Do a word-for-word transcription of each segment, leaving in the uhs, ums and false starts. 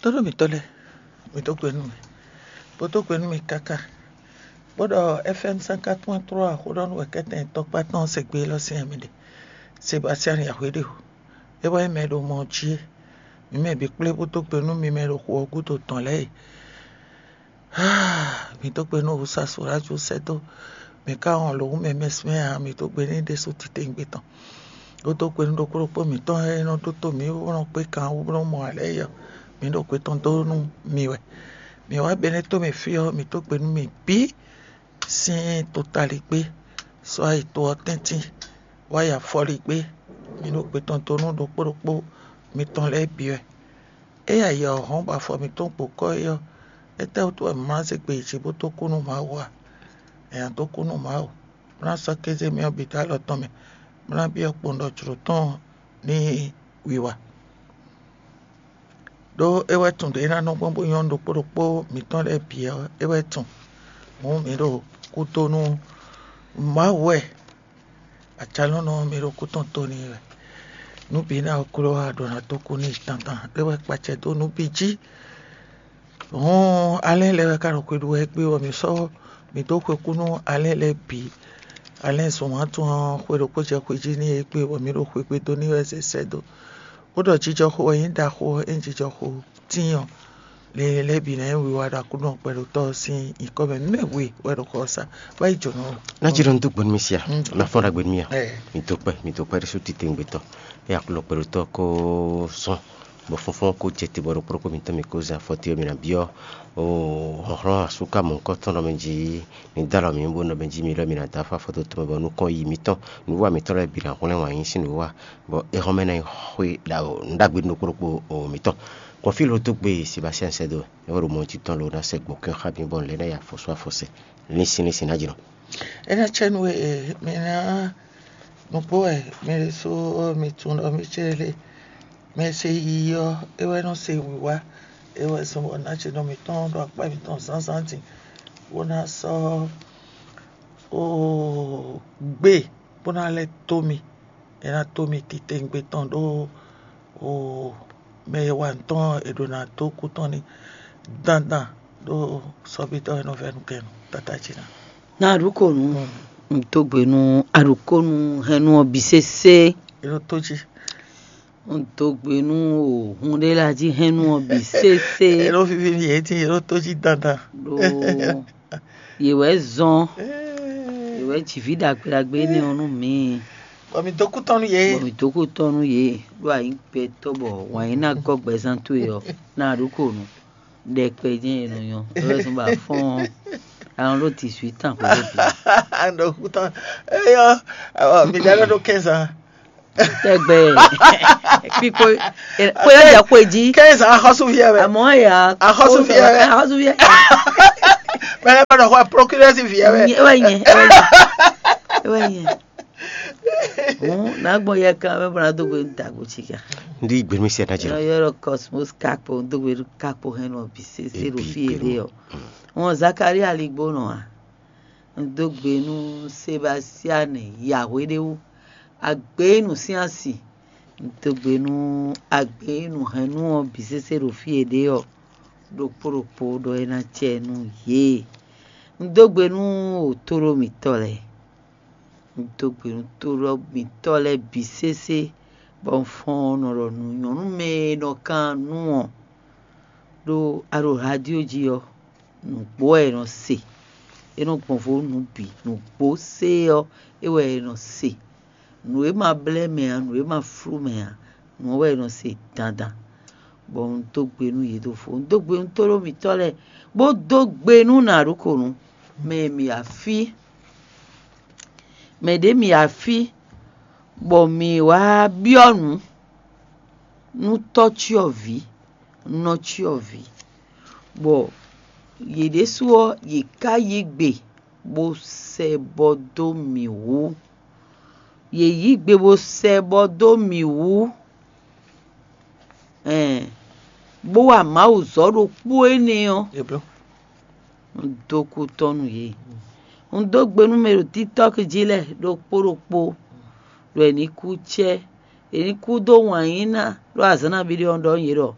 Tónú mǐtɔn lɛ́ɛ, mǐ dó gbe nú mì, bó dó gbe nú mì káká, bó ɖɔ F M cinquante point trois xó ɖɔ nú wɛ̌kɛ́tɛn tɔkpá tɔn se gbe élɔ́ sín ɛ mì ɖe. Sebastian Yahweh ɖe o, é wɛ nyí mɛ e ɖo mɔ jí é. Mǐ mɛ bǐ kplé bó dó gbe nú mi mɛ e ɖo xu ɔ́ gúdo tɔn lɛ́ɛ e. Mǐ dó gbe nú Wusasu Rájú sɛ́ dó mǐ ká wɔn lǒ mɛ mɛsmɛ ǎ, mǐ dó gbe n'i ɖésú titewungbe tɔn. Bó dó gbe nú ɖokpó ɖokpó mǐtɔn e nɔ ɖótó mǐ bó nɔ kpé kan wú bó nɔ mɔ alɛ é ɔ́, mǐ ɖo gbe tɔn dó nú mi wɛ. Mǐ wá Benɛ́to mɛ fí ɔ́, mǐ dó gbe nú mi bǐ sín totaligbé, sɔ́ ayi to ɔ́ tɛ́ntin, wá yi afɔligbé, mǐ ɖo gbe tɔn dó nú ɖokpó ɖokpó mitɔn lɛ́ɛ bǐ wɛ. Ényí ayǐ ɔ́ hɔn bɔ afɔ mǐtɔn gbo kɔ́ é ɔ́, étɛ́wútu wɛ mǐ ma zé gbe yi jǐ bó dó kú nú Mawu a? È nǎ dó kú nú Mawu, bó ná sɔ́ kéze mì ɔ́ bǐ dó alɔ tɔn mɛ, bó ná byɔ́ kpowun ɖɔ jlǒ tɔn ní wiwa. Ɖó é wɛ tunwun ɖě é ná nɔ gbɔn bó nyɔ́ nú ɖokpó ɖokpó mǐtɔn lɛ́ɛ bǐ ɔ́, é wɛ tunwun. Hǔn mǐ ɖo kúdó nú Mawu wɛ. Acalɔ́nɔ ɔ́, mi ɖo kú tɔn to n'i wɛ. Nǔ bǐ ná ko kló wá ɖo ná dó kú n'i tantan, é wɛ kpacɛ dó nǔ bǐ jí. Hɔn alɛ́ lɛ́ɛ wɛ ka ɖo xwe ɖu wɛ égbé bɔ mǐ sɔ́ mǐ dó xwe kú nú alɛ́ lɛ́ɛ bǐ. Alɛ́ zɔn wǎn tɔn ɔ́, xwe ɖokpó jɛ xwe jí n'i égbé bɔ mǐ ɖo xwe gbe dó n'i wɛ zɛ sɛ́ dó. Bó ɖɔ jijɔxo wɛ nyí ɖaxó ɔ́, é nyí jijɔxo tíin ɔ́, lě lɛ́ɛ bǐ ná nyí wiwa ɖo Aklúnɔ kpɛɖotɔ́ ɔ́ sín nyǐkɔ mɛ. Mɛ we wɛ ɖo xɔ ɔ́ sa, wá yi jǒnɔ. Ná jí ɖɔ un dó gbe nú mi sia, Mm. un ná fɔ́n ɖagbe nú mi a? Ɛ. Mi dó kpɛ́, mi dó kpɛ́ ɖésú titewungbe tɔn. É Aklúnɔ kpɛɖotɔ́ ko zɔn, bɔ fɔ́nfɔ́n ko jɛ te bɔ ɖokpó ɖokpó mitɔn mi ko zɛ afɔ te ɔ́, mi ná byɔ́ o hlɔ̌nhlɔ́n asúkámɔ̌kɔ́ tɔn ɖɔ mɛ jí ní dó alɔ mǐ bó nɔ mɛ jí mi lɔ mi ná dó afɔ afɔtɔn tɔn mɛ bɔ nukɔn yi mǐtɔn, nǔwiwa mǐtɔn lɛ́ɛ bǐ ná hwlɛ́n wǎn yí sín nǔwiwa, bɔ é hɔn mɛ ná yi xwé ɖagbe nú ɖokpó ɖokpó o mǐtɔn. Kɔn fí lo dó gbe Sebastian sɛ́ dó wɛ, é wɛ ɖo mɔ jí tɔn lo ná sɛ gbɔ̌ kɛn xá mi bɔ un lɛ́ ná yi afɔsú afɔsɛ. Linsin linsin ná jlɔ́n. É ná cɛ nú we e mi ná nukpó wɛ mi ɖésú mi tunwun ɖɔ mì cé lé. Mɛ e se yiyi ɔ́, é wɛ nɔ se wǐwá, é wɛ zɔn bɔ ná ce nɔ mǐtɔn ɖo akpá mǐtɔn zǎnzǎn din, bó ná sɔ́ oo gbe bó ná lɛ́ dó mì. É ná dó mì titewungbe tɔn ɖó oo mɛ e wa nǔ tɔn e ɖo ná dó kú tɔn ní dandan ɖó sɔ́bítɔ́ e nɔ vɛ́ nukɛn nú tata jí ná. Na aɖukonu, un dó gbe nú aɖukonu hɛnnu ɔ́ bǐ sésé. É ɖo tó jí. Un dó gbe nú o hun ɖé la jí hɛnnu ɔ́ bǐ sésé. É ɖo víví nú yě dín, é ɖo tó jí dandan. Ɖó yě wɛ zɔn, yě wɛ jǐví ɖagbe ɖagbe énɛ́ ɔ́ nú mǐ. Bɔ mi dó kú tɔn nú yě. Bɔ mi dó kú tɔn nú yě, ɖó a nyǐ gbɛtɔ́ bɔ wǎn yí ná gɔ́ gbɛzán towe ɔ́, na aɖukonu. Ɖɛkpɛ jɛ́n è nɔ nyɔ́, é wɛ zɔ́n bɔ a fɔ́n ɔ́, a nɔ ɖó dix-huit ans xwé ɖé bǐ. Ɖo kú tɔn. Eyɔ, mi ɖa ɖɔ ɖó quinze ans. Tɛgbɛ. Kpikpo kpo yɛ jɛ xwe jí. Quinze ans, axɔ́súví wɛ. Àmọ́ ya Axɔ́súví wɛ. Axɔ́súví wɛ. Mɛ lɛ kɔ ɖɔ xɔ procureur ví wɛ. Ewɛ nyɛ, ewɛ nyɛ, ewɛ nyɛ. Hǔn ná gbɔn yɛ kan mɛ bɔ ná dó gbe nú dǎgbó cí kan. Ndi gbemi sɛ ná jira. Yɔrɔ Cosmos Kakpo dó gbe nú Kakpo hɛn nɔ bǐ sésé ɖo fí e ɖe ɔ́. Wọn Zakaria ligbo nɔ a? Un dó gbe nú Sebastian Yahweh ɖé wú. Agbenu sín asi. Un dó gbe nú agbenu hɛn nú ɔ́ bǐ sésé ɖo fí e ɖe ɔ́. Ɖokpó ɖokpó ɖɔ é ná cɛ nú yě. Un dó gbe nú òtóɖó mǐtɔn lɛ́ɛ. Un dó gbe nú tóɖó mǐtɔn lɛ́ɛ bǐ sésé, bɔ un fɔ́n nɔ ɖɔ nǔ nyɔ̌nu mɛ e nɔ kan nú ɔ́ ɖó a ɖo radio jí ɔ́, nǔgbó wɛ è nɔ se. É nɔ gbɔn vo nǔ bǐ, nǔgbó sé ɔ́, é wɛ è nɔ se. Nǔ e ma blɛ́ mɛ ǎ, nǔ e ma flú mɛ ǎ, nǔ ɔ́ wɛ è nɔ se dandan. Bɔ un dó gbe nú yě ɖo fó, un dó gbe nú tóɖó mǐtɔn lɛ́ɛ, bó dó gbe nú nǎɖukonú, mɛ e mǐ wá fí, mɛ ɖě mǐ wá fí, bɔ mǐ wá byɔ́ nǔ nú tɔ́cyɔvǐ, nɔcyɔvǐ, bɔ yě ɖésú ɔ́, yě ká yí gbe bó sɛ bɔ dó mǐ wú. Yě yí gbe bó sɛ bɔ dó mǐ wú, ɛn, bó wa Mawu zɔ́ ɖokpó énɛ́ ɔ́, un dó kú tɔ́ nú yě. Un dó gbe nú mɛ ɖo TikTɔ́k jí lɛ́ɛ ɖokpó ɖokpó, ɖɔ è ní kú cɛ́, è ní kú dó wǎn yí ná, ɖó azǎn nabí ɖé ɔ́ ɖɔ nú yě ɖɔ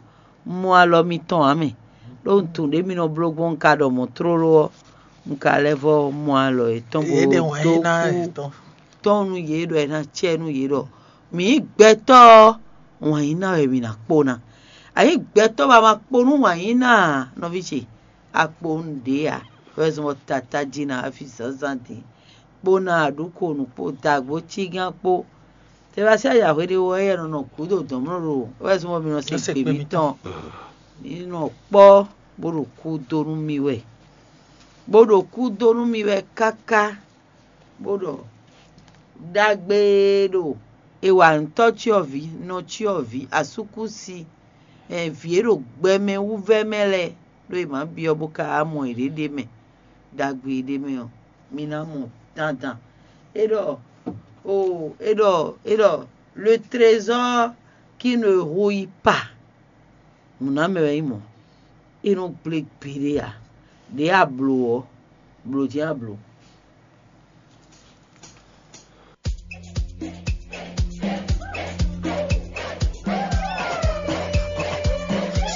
mɔ alɔ mitɔn ǎ mɛ. Ɖó un tunwun ɖě mi nɔ bló gbɔn un ka ɖɔ mɔ̌ tlóló ɔ́, un ka lɛ́ vɔ́ mɔ alɔ yětɔn bó dó kú tɔn nú yě ɖɔ è nǎ cɛ nú yě ɖɔ mǐ nyí gbɛtɔ́ ɔ́, wǎn yí ná wɛ mǐ ná kpó ná. A nyǐ gbɛtɔ́ bɔ a ma kpó nú wǎn yí ná ǎ, nɔví ce, a kpó nú ɖě ǎ. Wɛ zɔn bɔ tata jí ná afi zǎnzǎn dín kpó ná aɖǔkonu kpó dagbo cígán kpó. Tɛbasí ayǎhwe ɖé wɛ yɛ nɔ nɔ gǔdo dɔ̌nmlɔ́ ɖo wɛ zɔn bɔ mi nɔ se gbe mǐtɔn. Mi nɔ kpɔ́ bó ɖo kú dó nú mi wɛ, bó ɖo kú dó nú mi wɛ káká, bó ɖɔ ɖagbe ɖo è wa ntɔ́ cyɔ́vǐ, nɔ cyɔ́vǐ, asúkúsi, vǐ e ɖo gbɛmɛ wú vɛ́ mɛ lɛ́ɛ, ɖó è mǎ byɔ́ bó ka wá mɔ yěɖée ɖ'é mɛ, ɖagbe e ɖ'é mɛ ɔ́, mi ná mɔ dandan. É ɖɔ o é ɖɔ é ɖɔ le trésor qui ne rouille pas. Nǔnámɛ wɛ nyí mɔ̌. É nɔ gblé gbeɖé ǎ. Ɖě a blǒ ɔ́, blǒ jɛ́n a blǒ.